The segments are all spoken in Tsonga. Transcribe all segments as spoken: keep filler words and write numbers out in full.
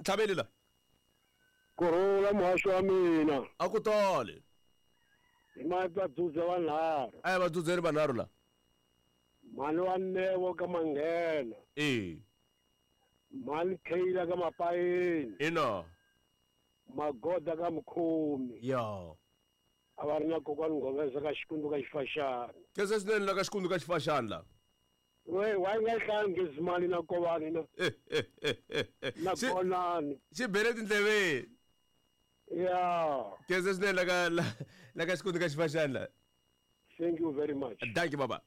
ntlhaveli la. Kurhula muhaxi wa mina. A ku tali. Hi mavadzudze vanharhu. A hi vadzudzeni vanharhu la. Mhani wa Nevo ka Manghena. E. Mhani Kheyila ka Mapayeni. Ina. Magoda ka Mukhomi. Ya. A va ri na kokwani Nghoveza ka Xikundu ka Xifaxana. Khensa swinene la ka Xikundu ka Xifaxana la. We wa nga hlangi Zimali na Kovani na. Na Konani. Xi bele tindleveni. Ya. Khensa swinene la ka la ka Xikundu ka Xifaxana la. Thank you very much. Thank you baba.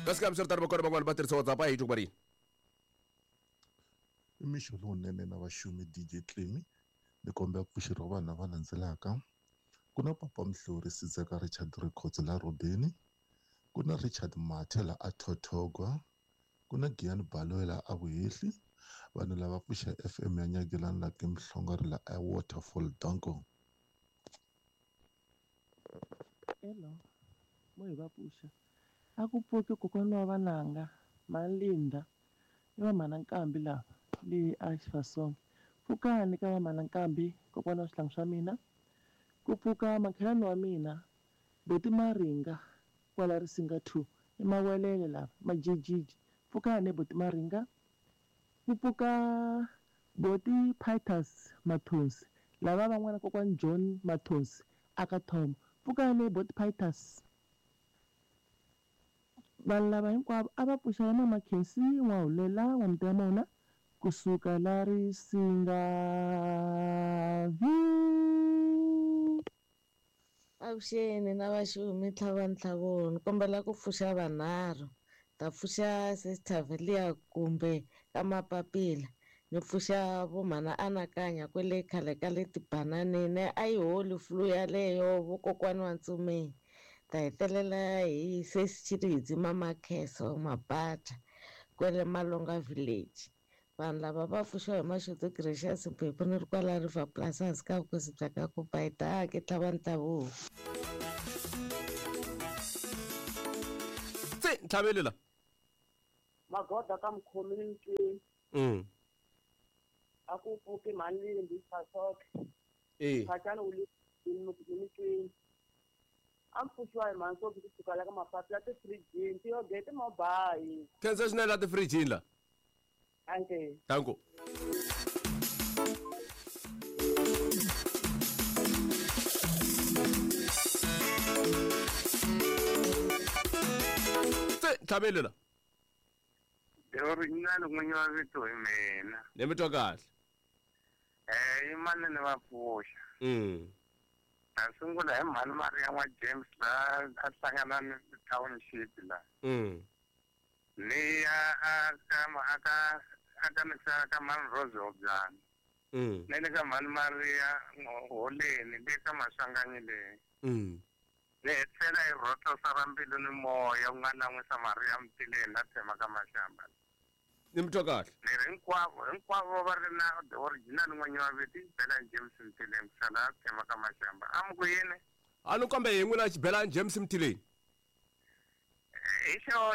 Kasi ka msirtar bakora bangwana ba tirhisa WhatsApp a hi twa ri. I mixo lowunene na vaxumi D J Clemy ni kombela ku pfuxeriwa vanhu lava landzelaka. Ku na Papa Mhlori Sidzeka Richard Records la Robeni, ku na Richard Mathe la a Thothogwa, ku na Giyani Baloyi la a Vuhehli. Vanhu lava pfuxa F M ya Nyagelani la ke Mhlongari la a Waterfall. Danko. Hello, mo hi va pfuxa. A ku pfuki kokwana wa vananga Malinda i va mhana Nkambi lava le a Xifasonge. Pfukani ka va mhana Nkambi kokwana wa swihlangi swa mina. Ku pfuka makhelwani wa mina Boti Maringa kwala Risinga two i Mawelele lava Majijiji. Pfukani Boti Maringa. Ku pfuka Boti Pitus Mathonsi lava van'wana kokwani John Mathonsi aka Thoma. Pfukani Boti Pitus. Vanhu lava hinkwavo a va pfuxela Mama Khensi N'wahulela N'wa-Mutiyamona kusuka la Risinga V. Avuxeni na vaxumi tlhava ntlhavoni ni kombela ku pfuxa vanharhu. Ta pfuxa Sister Velia kumbe ka Mapapila, ni pfuxa vo mhana Anakanya kwele khale ka le tibananeni a yi holi flu yaleyo vokokwani wa Ntsumeni. Ta hetelela hi sesi Mama Kheso Mabata kwele Malonga village. Vanhu lava va pfuxiwa hi Maxuto Gracious Mphephu ni ri kwala River Plus hansi ka vukosi bya ka Kupaita ke tlhava ntavuko. Se ntlhaveli la. Magoda ka Mukhomi ni Ntweni. Mm. A ku pfuki Mhani Fasoke. Eh. Phachana u le Ntweni. A pfuxiwa hi mhani Sophie kusuka la ka Mapapila ti-fridge ti-yogurt mabayi. Khensa swinene la ti-fridge la. Anke. Danko. Se ntlhaveli la. The original n'winyi wa vito hi mina. Ni mi twa kahle. Eh, i manene va pfuxa. Mm. Ta sungula hi mhani Maria wa James la a hlangana ni township la. Mm. Ni ya a ka a ka a ka misa ka mhani Rose Obyana. Mm. Ni le ka mhani Maria Holeni le ka Maswanganyi le. Mm. Ni hetisela hi rhotlosa ra mbilu ni moya u nga lan'wisa Maria Mtileni la tshema ka Maxamba. Ni mi twa kahle. Ni ri hinkwavo hinkwavo va ri na the original n'winyi wa vito i Xibelani James Mtileni ku sala tshema ka Maxamba. A mi ku yini? A ni kambe hi n'wina Xibelani James Mtileni. Hi xo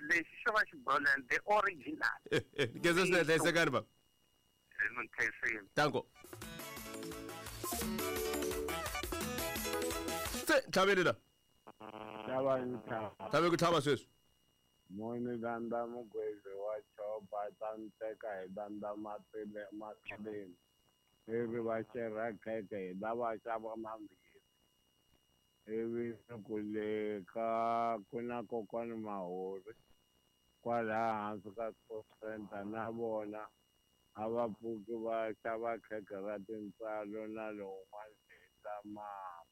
lexi xo va Xibolani the original. Khensa swinene hlayisekani baba. Ni nkhensile. Danko. Se ntlhaveli la. Tlhava ntlhava. Tlhave ku tlhava sweswi. Moni danda mugwezi wa chopa ta nteka hi danda matile matleni. Ivi va xerha khekhe hi lava xava mambirhi. Ivi ku le ka ku na kokwani Mahori kwalaha hansi ka Sports Center na vona a va pfuki va xava khekhe ra tintswalo na lowun'wana hi ta mama.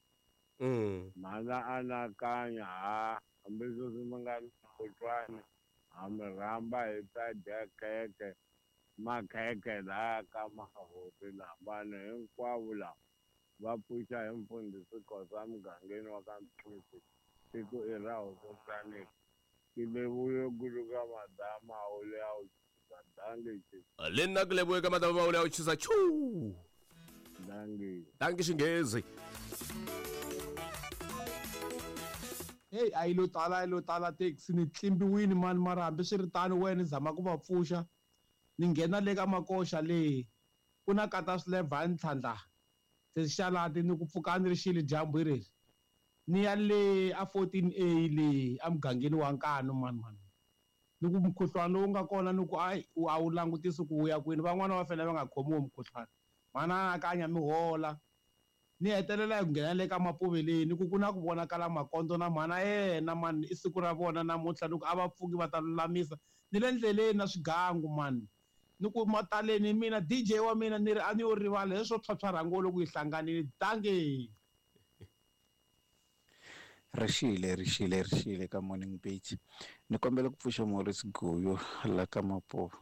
Mm. Mhana Anakanya ha hambi sweswi mi nga kutwani ha mi rhamba hi ta dya khekhe makhekhe laha ka Mahori laha vanhu hinkwavo lava va pfuxa hi mfundhisi Khosa mugangeni wa ka Mphisi tiko i ra Hosi Ke lebohe kudu ka madama o le a o tjhisa. Dankie. Le nna ke lebohe ka madama o le a o tjhisa. Tjhu. Dankie. Dankie Xinghezi. Hey, a yi lo tala a yi lo tala taxi ni tlimbiwini mani mara hambiswiritano wena ni zama ku va pfuxa ni nghena le ka makoxa le ku na kata swilevha ntlhandla sexalati ni ku pfuka ni ri xile dyambu hi reri ni ya le a fourteen A le emugangeni wa Nkanu mani mani ni ku mukhuhlwani lowu nga kona ni ku ayi a wu langutisi ku wu ya kwini van'wana va fanele va nga khomiwi mukhuhlwani mana anakanya mi hola ni hetelela hi ku nghena le ka mapuveleni ku ku na ku vonakala makondzo na mhana yena mani i siku ra vona namuntlha ni ku a va pfuki va ta lulamisa ni le ndleleni na swigangu mani ni ku mataleni mina D J wa mina ni ri a ni yo rivala leswo phyaphyarha ngo loko yi hlanganile dange. Rixile rixile rixile ka Morning Beach ni kombela ku pfuxa Maurice Guyo la ka Mapuve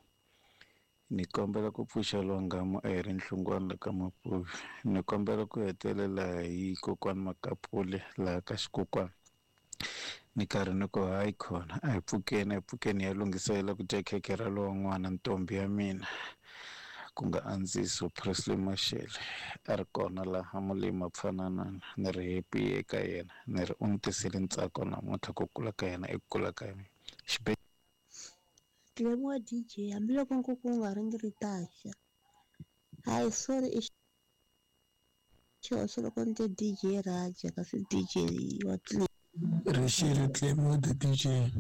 ni kombela ku pfuxa Lwangamo a hi ri Nhlungwana la ka Mapuve ni kombela ku hetelela hi kokwani Makapule laha ka xikokwani ni karhi ni ku hayi khona a hi pfukeni a hi pfukeni ya lunghiselela ku dya khekhe ra lowun'wana ntombi ya mina ku nga Andziso Presley Mashele a ri kona laha Mulima Pfananana ni ri happy eka yena ni ri u ni tisele ntsako namuntlha ku kula ka yena i ku kula ka mina xibe Tlemiwa D J hambiloko nkuku wu nga ringi ri taxa hayi sorry i xihoxo loko ni te D J Raja kasi D J wa Tlemi Rixile Tlemiwa the D J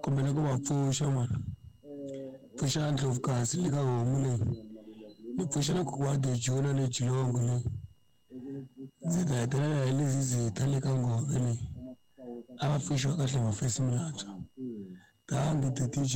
kombela ku va pfuxa mani pfuxa Ndlovukazi le ka homu leyi ni pfuxa na kokwana Dejula le Jilongo leyi ndzi ta hetelela hi Lizizitha le ka Ngove leyi a va pfuxiwa kahle mafesi mantshwa thank you the D J.